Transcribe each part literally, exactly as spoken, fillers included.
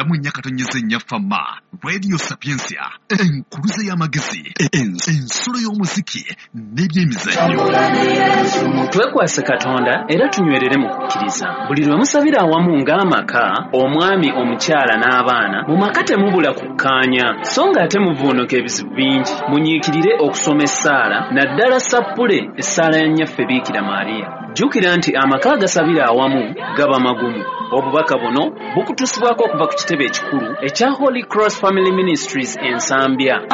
mu nnya katonyeze nnya Fama Radio Sapientia, enkuluze y'amagezi, ensulo y'omuziki n'ebyemizannyo. Twekwase Katonda era tunywerere mu kukkiriza. Buli lwe musabira awamu ng'amaka, omwami, omukyala n'abaana, mu maka temubula kukkaanya, so ng'ate muvuunuka ebizibu bingi. Munyiikirire okusoma essaala, naddala sappule essaala ya Nnyaffe Biikira Maria. Jjukira nti amaka agasabira awamu gaba magumu. Obubaka buno bukutuusibwako okuva ku kitebe ekikulu ekya Holy Cross Family Ministries e Nsambya.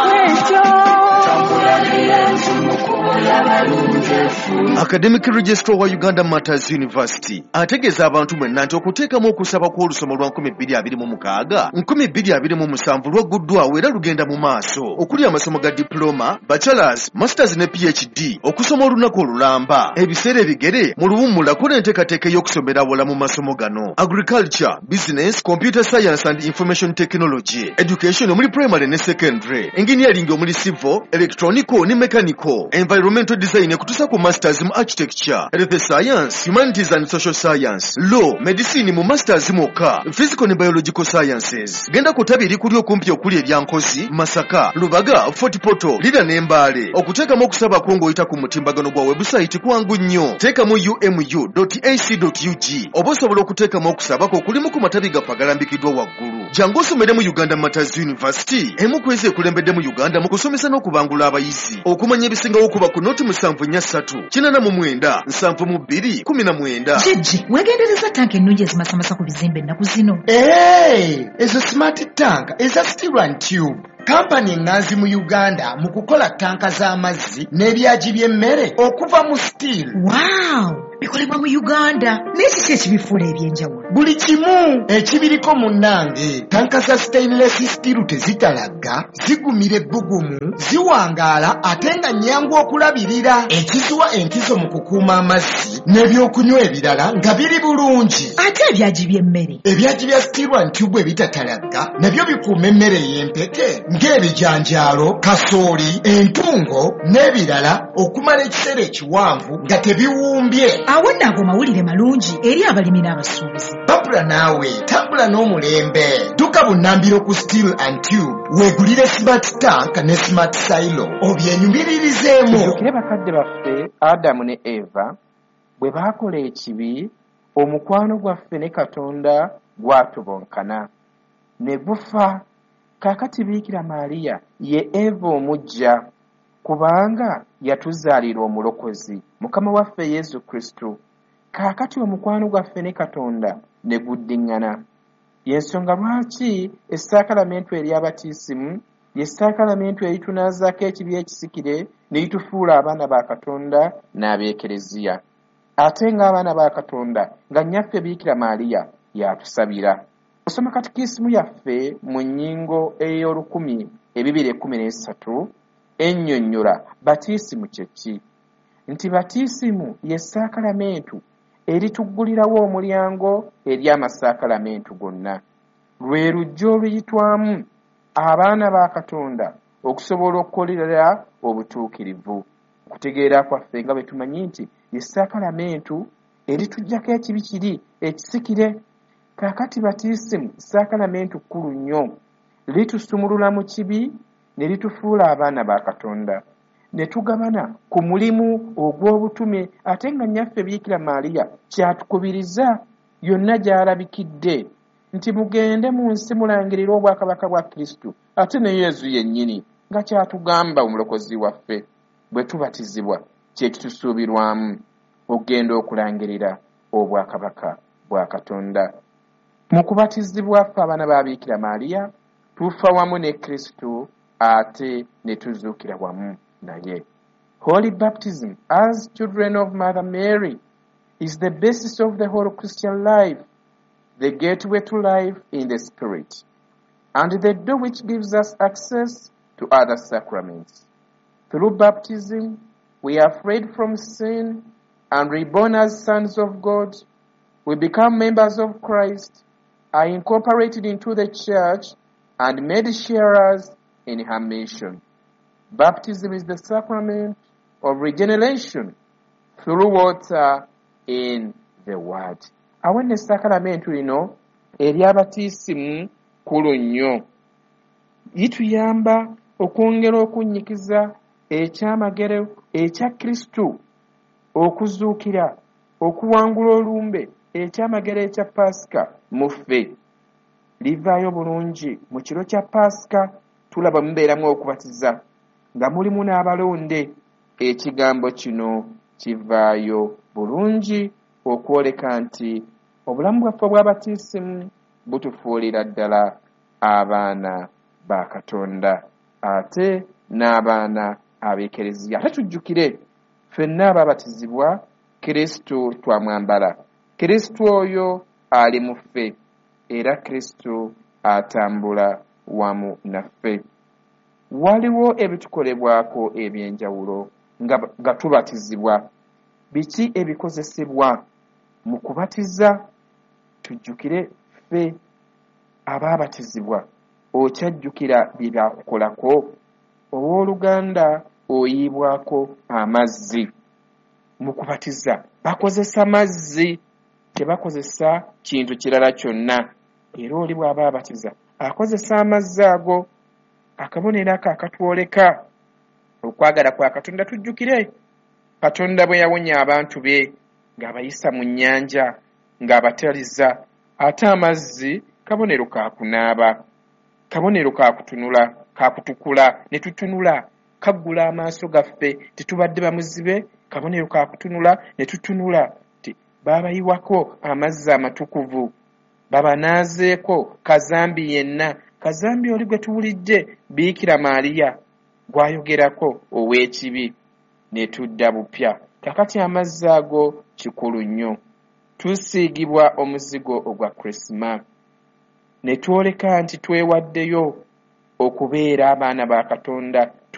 Academic Registrar wa Uganda Martyrs University ategeeza abantu mwenna nti okuteekamu okusaba kw'olusoma lwa nkumi bbiri abiri mu mukaaga nkumi bbiri abiri mu musanvu lwagguddwawo era lugenda mu maaso, okuli amasomo ga diploma, bachelors, masters ne P H D, okusoma olunaku olulamba, ebiseera ebigere mu luwummula, kola enteekateeka ey'okusomera awala mu masomo gano: agriculture, business, computer science and information technology, education omuli primary ne secondary, engineering omuli civil, electronical ne mechanical, environmental design ekutuusa ku masters mu architecture, health science, humanities and social science, law, medicine mu masters mwokka, physical ne biological sciences. Genda ku ttabi erikuli okumpi okuli erya Nkozi, Masaka, Lubaga, Fort Portal, Lira ne Mbale. Okuteekamu okusaba kwo ng'oyita ku mutimbagano gwa website kwangu nnyo. Teekamu umu dot ac dot ug oba osobola okuteekamu okusaba kwo okulimu ku matabi gaffe agalambikiddwa waggulu. Jangu osomere mu Uganda Martyrs University, emu ku ezo ekulembedde mu Uganda mu kusomesa n'okubangula abayizi. Okumanya ebisingawo, kuba ku noti musanvu nnya ssatu kinaana mu mwenda nsanvu mu bbiri kumi na mwenda. Jjejje, weegendereza tanka ennungi ezimasamasa ku bizimbe ennaku zino. Ee, ezo smart tank eza Steel and Tube, kampani eŋŋanzi mu Uganda mu kukola tanka z'amazzi n'ebyagi by'emmere okuva mu steel. Wow, bikolebwa mu Uganda, naye kiki ekibifuula ebyenjawulo? Buli kimu ekibiriko, munnange. Tanka za stainless steel tezitalagga, zigumira ebbugumu, ziwangaala ate nga nnyangu okulabirira, ekiziwa enkizo mu kukuuma amazzi n'ebyokunywa ebirala nga biri bulungi. Ate ebyagi by'emmere? Ebyagi bya Steel and Tube ebitatalagga nabyo bikuuma emmere ey'empeke ng'ebijanjaalo, kasooli, entungo n'ebirala okumala ekiseera ekiwanvu nga tebiwumbye. Awo nno ago mawulire malungi eri abalimi n'abasuubuzi. Babula naawe tambula n'omulembe. Dduka bunnambiro ku Steel and Tube weegulire smart tank ne smart silo obyenyumiririzeemu. Tujjukire bakadde baffe Adamu ne Eva bwe baakola ekibi, omukwano gwaffe ne Katonda gwatubonkana ne gufa. Kaakati Biikira Maaliya ye Eva omuggya, kubanga yatuzaalira Omulokozi, Mukama waffe Yesu Kristo. Kaakati omukwano gwaffe ne Katonda ne guddiŋŋana. Y'ensonga lwaki essaakalamentu ery'abatiisimu ye saakalamentu eritunaazaako ekibi ekisikire ne litufuula abaana ba Katonda n'abeekereziya, ate ng'abaana ba Katonda nga Nnyaffe Biikira Maaliya y'atusabira. Osoma katikisimu yaffe mu nnyingo ey'olukumi ebibiri ekkumi n'esatu ennyonnyola batiisimu kye ki, nti batiisimu ye saakalamentu erituggulirawo omulyango eri amasaakalamentu gonna. Lwe lujja oluyitwamu abaana ba Katonda okusobola okukolerera obutuukirivu. Okutegeera kwaffe nga bwe tumanyi nti ye saakalamentu erituggyako ekibi kiri ekisikire. Kaakati batiisimu saakalamentu kkulu nnyo, litusumulula mu kibi ne litufuula abaana ba Katonda ne tugabana ku mulimu ogw'obutume, ate nga Nnyaffe Biikira Maaliya kyatukubiriza yonna gy'alabikidde nti mugende mu nsi mulangirire obwakabaka bwa Kristo, ate ne Yezu yennyini nga kyatugamba Omulokozi waffe bwe tubatizibwa kye kitusuubirwamu okugenda okulangirira obwakabaka bwa Katonda. Mu kubatizibwa ffe abaana ba Biikira Maaliya tufa wamu ne Kristo ate ne tuzuukira wamu naye. Holy baptism as children of Mother Mary is the basis of the whole Christian life, the gateway to life in the spirit and the door which gives us access to other sacraments. Through baptism we are freed from sin and reborn as sons of God. We become members of Christ, are incorporated into the church and made sharers in her mission. Baptism is the sacrament of regeneration through water in the word. Awo nno essaakalamentu lino ery'abatiisimu kkulu nnyo. Lituyamba okwongera okunnyikiza ekyamagero ekya Kristo okuzuukira, okuwangula olumbe, ekyamagero ekya Paasika mu ffe. Livaayo bulungi mu kiro kya Paasika, tulaba mubeeramu okubatiza nga mulimu n'abalonde. Ekigambo kino kivaayo bulungi okwoleka nti obulamu bwaffe obw'abatiisimu butufuulira ddala abaana ba Katonda ate n'abaana ab'Ekereziya. Ate tujjukire ffenna abaabatizibwa Kristo twamwambala. Kristo oyo ali mu ffe era Kristo atambula wamu naffe. Waliwo ebitukolebwako eby'enjawulo nga, nga tubatizibwa. Biki ebikozesebwa mu kubatiza? Tujjukire ffe abaabatizibwa, okyajjukira bye byakukolako? Owooluganda oyiibwako amazzi. Mu kubatiza bakozesa mazzi, tebakozesa kintu kirala kyonna. Era oli bw'aba abatiza akozesa amazzi ago, akabonero ako akatwoleka okwagala kwa Katonda. Tujjukire Katonda bwe yawonya abantu be ng'abayisa mu nnyanja, ng'abataliza, ate amazzi kabonero ka kunaaba, kabonero ka kutunula, ka kutukula, ne tutunula, kaggula amaaso gaffe, tetubadde bamuzibe, kabonero ka kutunula, ne tutunula, baabayiwako amazzi amatukuvu, babanaazeeko kazambi yenna. Kazambi oli gwe tuwulidde Biikira Maaliya gw'ayogerako ow'ekibi, ne tudda bupya. Kakati amazzi ago kikulu nnyo. Tusiigibwa omuzigo ogwa Krisima ne twoleka nti twewaddeyo okubeera abaana ba Katonda.